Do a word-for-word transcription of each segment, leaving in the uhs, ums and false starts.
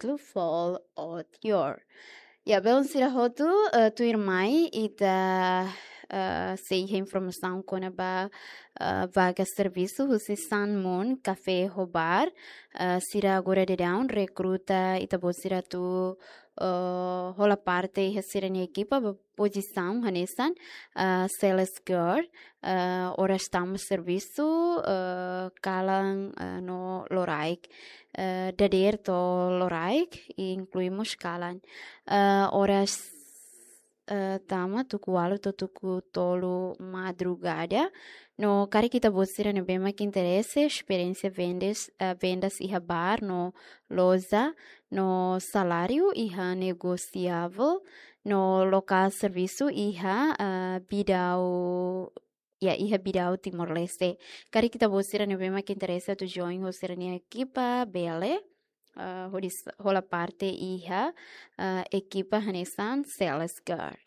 títulu Fall Out Your. Ya, belun sira hotu, eh, tuirmai ita, eh, sei iha informasaun kona-ba, eh, vaga servisu husi Sun Moon Café ho Bar. Eh, sira agora daudaun rekruta ita-boot sira atu, eh, hola parte iha sira-nia ekipa ba pozisaun hanesan, eh, sales girl, eh, oras tama servisu, eh, kalan, eh, no loraik, eh, dadeer to'o loraik, inklui mós kalan. Eh, oras, eh, tama tuku ualu to'o tuku tolu madrugada. No karik ita-boot sira ne'ebé mak interese, esperiénsia vendas, eh, vendas iha bar no loja, no saláriu iha negosiavel, no lokál servisu iha, eh, Bidau, ya, iha Bidau Timor-Leste. Karik ita-boot sira ne'ebé mak interese atu join ho sira-nia ekipa, bele, eh, hodi s-, hola parte iha, eh, ekipa hanesan sales girl.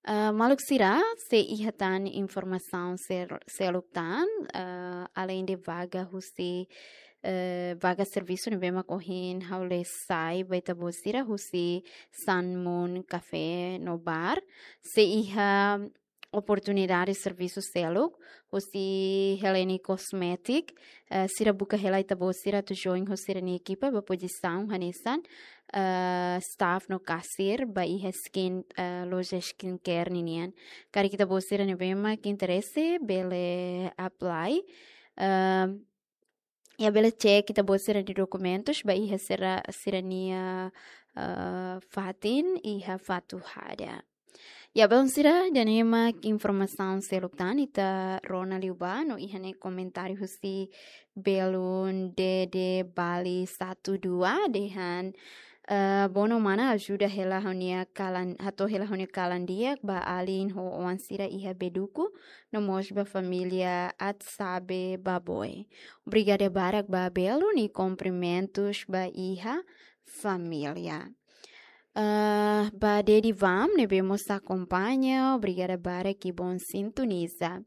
Eh, maluk sira, sei iha tan informasaun sel-, seluk tan, eh, aleinde vaga husi, eh, vaga servisu ne'ebé mak ohin ha'u lee sai ba ita-boot sira husi Sun Moon Café no Bar, sei iha oportunidade servisu seluk husi Helene Cosmetic, eh, sira buka hela ita-boot sira atu join ho sira-nia ekipa ba pozisaun hanesan, eh, staff no kasir ba iha skin, eh, loja skincare ninian. Karik ita-boot sira ne'ebé mak interese bele apply. Eh, ya, bele cek ita-boot sira-nia dokumentus ba iha sira, sira-nia, eh, fatin iha Fatuhada. Ya, belun sira, ida-ne'e mak informasaun seluk tan ita rona liu ba, no iha ne'e komentáriu husi belun Dede Bali satu dua dehan, eh, bono mana ajuda hela ha'u-nia kalan, hato'o hela ha'u-nia kalan di'ak ba alin ho oan sira iha Beduku, no mós ba família Atsabe Baboe. Obrigada barak ba belun i kumprimentus ba iha família. Eh, ba Dedi Vam, ne'ebé mós akompaña, obrigada barak i bom sintoniza.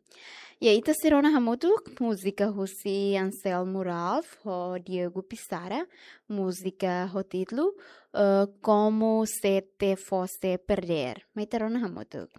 Ya, ita sei rona hamutuk múzika husi Anselmo Ralph ho Diego Pissarra, múzika ho títulu, eh, Como Se Te Fosse Perder. Mai ita rona hamutuk.